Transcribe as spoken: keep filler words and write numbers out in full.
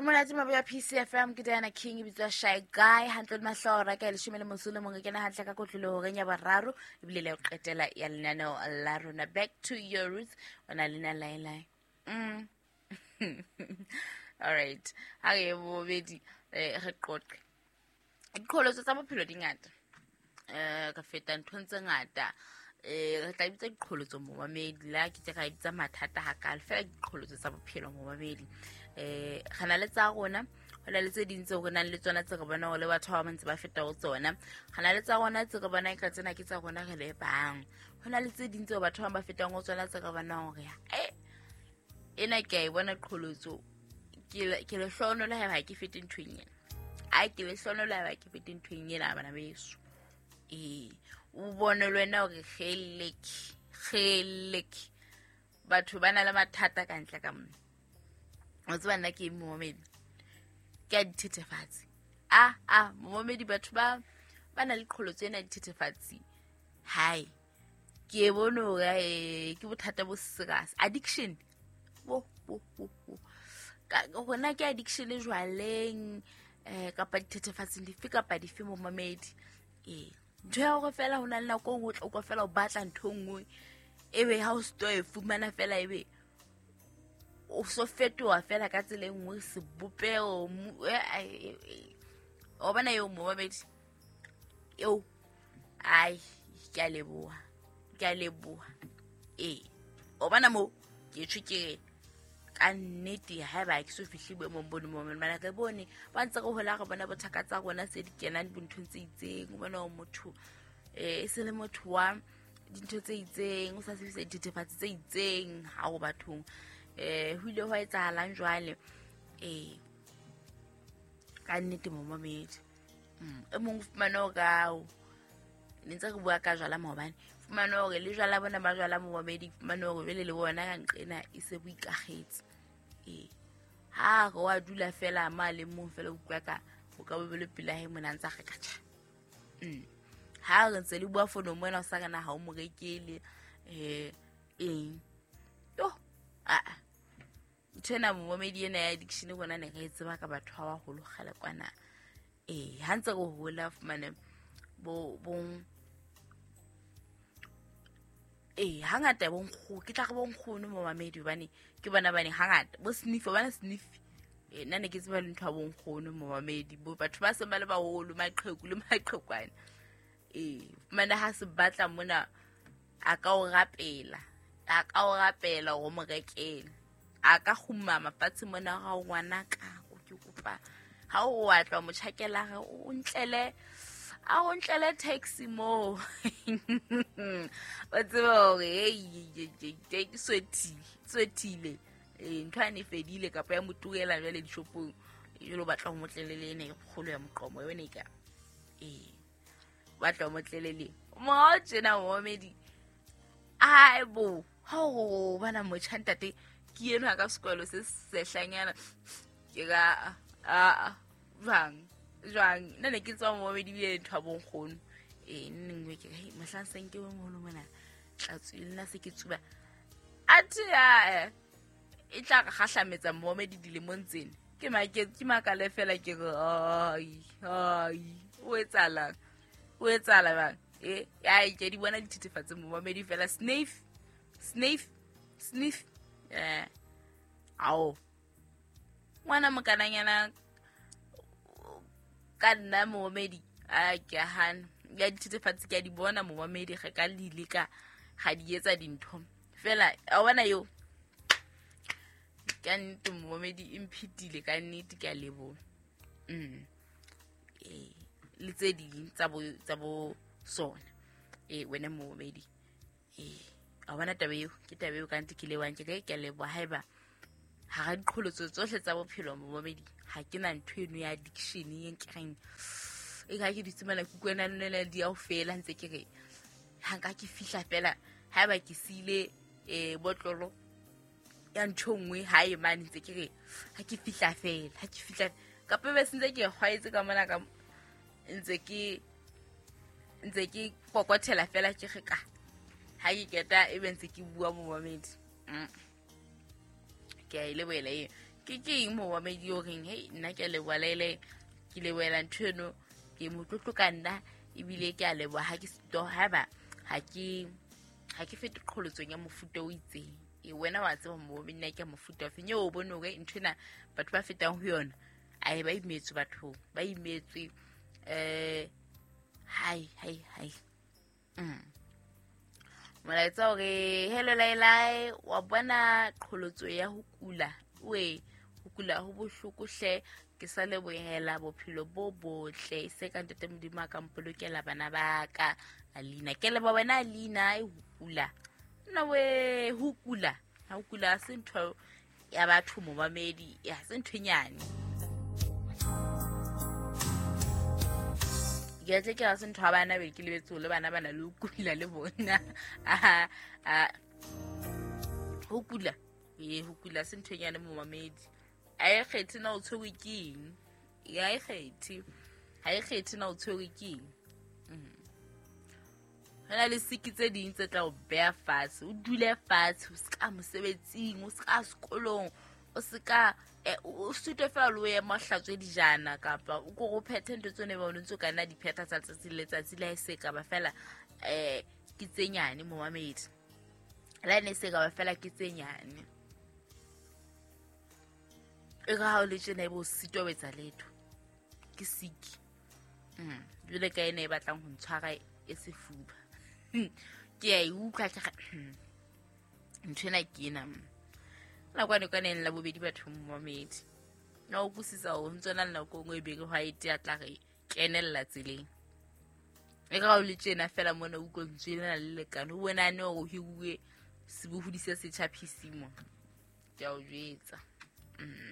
Monate maboya P C F M ke Diana King e bitswa Shy Guy hantle le mahlora ka leshome le motso le mong ke kena hantle ka kotlolo horeng ya boraro ebile le qetela ya lenaneo la rona Back to Your Roots ona lena lai lai. Mm. All right. Ha re bobedi re qoqe. Diqholotso tsa bophelo di ngata. Eh ka feta nthong tse ngata. Eh re tla bitsa diqholotso momamedi la ke tse ka bitsa mathata hakalo fela diqholotso tsa bophelo momamedi. Eh re na le tsa rona ho na le tse ding tseo re nang le tsona tse re bona hore le batho ba bang ba feta ho tsona. Re na le tsa rona tse re bona ka tsena ke tsa rona re le bang. Ho na le tse ding tseo batho ba bang ba fetang ho tsona tse re bona hore eh ena ke a e bona qholotso ke ke lehlohonolo haeba ke fete nthong ena. Ai ke lehlohonolo haeba ke fete nthong ena bana beso. Eh o bone le wena hore kgeleke kgeleke batho ba na le mathata ka ntle ka mona. O tseba nna ke momamedi ke a dithethefatsi. Ah ah momamedi batho ba ba na le qholotso ena dithethefatsi. Hai ke e bone hore ke bothata bo serious addiction. Bo bo bo bo ka hona ke addiction le jwaleng eh kapa dithethefatsing dife kapa dife momamedi. Eh ntho ya hore fela ho na le nako o tla utlwa fela o batla ntho nngwe ebe ha o sto e fumana fela ebe o so fetoha fela ka tsela e nngwe sebopeho o bona eo momamedi eo. Ai ke a leboha ke a leboha eh o bona mo ke tjho ke ka nnete haeba ke so fihle boemong bo momamedi mana re bone ba ntse re hola re bona bothaka tsa rona tse di kenang dinthong tse itseng. O bona motho eh e se le motho wa dintho tse itseng o sa sebedisa dithethefatsi tse itseng ha o bathong. Eh ho ile hwa etsahalang jwale eh ka nnete momamedi e mong fumana o kao ne ntse re bua ka jwala maobane fumana hore le jwala bona ba jwala momamedi fumana hore jwale le bona ka nqena e se bo ikagetse. Eh ha re wa dula fela ma le mong fela utlwa ka o ka bobele pela he mona ntsa re ka tjha. Mm ha re ntse le bua fono mona o sa kana ha o mo rekele eh eng yo a a ntho momamedi ena ya addiction bona ne re tseba ka batho ba baholo kgale kwana. Eh ha ntse re hola fumane bo bo eh hangata bo nkgo ke tla re bo nkgono momamedi hobane ke bona bane hangata bo sniff bana sniff eh nna ne ke tseba le ntho ya bo nkgono momamedi bo batho ba seng ba le baholo maqheku le maqhekwana. Eh fumane ha se batla mona a ka o rapela a ka o rapela hore mo rekele a ka kgumama fatshe mona ga o ngwana ka o ke kopa ha o wa tla mo tjhakela re o ntlele a o ntlele taxi mo wa tseba hore hey ke swethile swethile eh ntho ane fedile kapa ya moturela jwale dishopong jalo batla ho motlelele ene e kgolo ya moqomo yone ka eh batla ho motlelele mo tjena momedi ai bo ho bana motjha ntate ke eno ka sekolo se sehlanyana ke ka a jwang jwang nna ne ke tswa momamedi bile ntho ya bonkgono eh nngwe ke re mohlang seng ke moholo mona tla tswile nna se ke tsuba athe ya e tla re kgahlametsa momamedi dilemong tsena ke make ke makale fela ke re ai ai o etsahalang o etsahala bang eh ai ke di bona dithethefatsi momamedi fela sniff sniff sniff eh ao ngwana mokananyana ka nna momamedi a ke a hana ya dithethefatsi ke a di bona momamedi ge ka le leka ga di etsa dintho fela a bona yo ka nnete momamedi e mphetile ka nnete ke a leboha. Mm eh le tse ding tsa bo tsa bo sona eh wena momamedi eh a bona taba eo ke taba eo ka nnete ke lewang ke ke a leboha haeba ha ra diqholotso tsohle tsa bophelo momamedi ha ke na ntho eno ya addiction e nkereng e ka ke ditsemela kukwena nna di a o fela ntse ke re ha nka ke fihla fela haeba ke sile eh botlolo ya ntho nngwe ha e mane ntse ke re ha ke fihla fela ha ke fihla kapa be sentse ke kgwaetse ka mona ka ntse ke ntse ke kokothela fela ke re ka ha ke keta e be ntse ke bua momamedi. Mm ke a ile boela e Ke ke eng momamedi o reng hei nna ke a leboha lele ke lebohela ntho eno ke motlotlo ka nna ebile ke a leboha ha ke sitwa haeba ha ke ha ke fete qholotsong ya mofuta o itseng. E wena wa tseba momamedi nna ke ya mofuta ofeng eo o bone hore ntho ena batho ba fetang ho yona ae ba imetswe bathong ba imetswe eh hai hai hai. Mm. Molaetsa hore hello Lailai wa bona qholotso ya ho kula we ho kula ho bohloko hle ke sa lebohela bophelo bo botle se ka ntate Modimo a ka mpolokela bana ba ka. Alina ke leboha wena Alina e ho kula nna we ho kula ha ho kula se ntho ya batho momamedi ya se ntho e nyane ke tle ke se ntho ya bana be ke lebetse le bana bana le ho kula le bona a a ho kula e ho kula se ntho e nyane momamedi a e kgethe na o tshwerwe ke eng ya e kgethe ha e kgethe na o tshwerwe ke eng. Ho na le siki tse ding tse tla o beha fatshe o dule fatshe o se ka mosebetsing o se ka sekolong o se ka o sutwe fela le o ema o hlatswe dijana kapa o ko o phethe ntho tsone ba o ntse o ka nna di phetha tsa letsatsi le letsatsi le ha e se ka ba fela eh ke tse nyane momamedi le ha ne se ka ba fela ke tse nyane e ka ha o le tjena ebe o sitwa ho etsa letho ke siki. Mm jwale ka ena e batlang ho ntshwara e sefuba ke a e utlwa ke ntho ena ke ena nakwane kwaneng la bobedi batho momamedi na o utlwisisa hore ho ntso na le nako e nngwe e be re white ya tla re kenella tseleng e ka ha o le tjena fela mona o utlwa lentswe lena le lekane o bonane hore o hiruwe sebohodi se setjha P C mona ke a o jwetsa. Mm.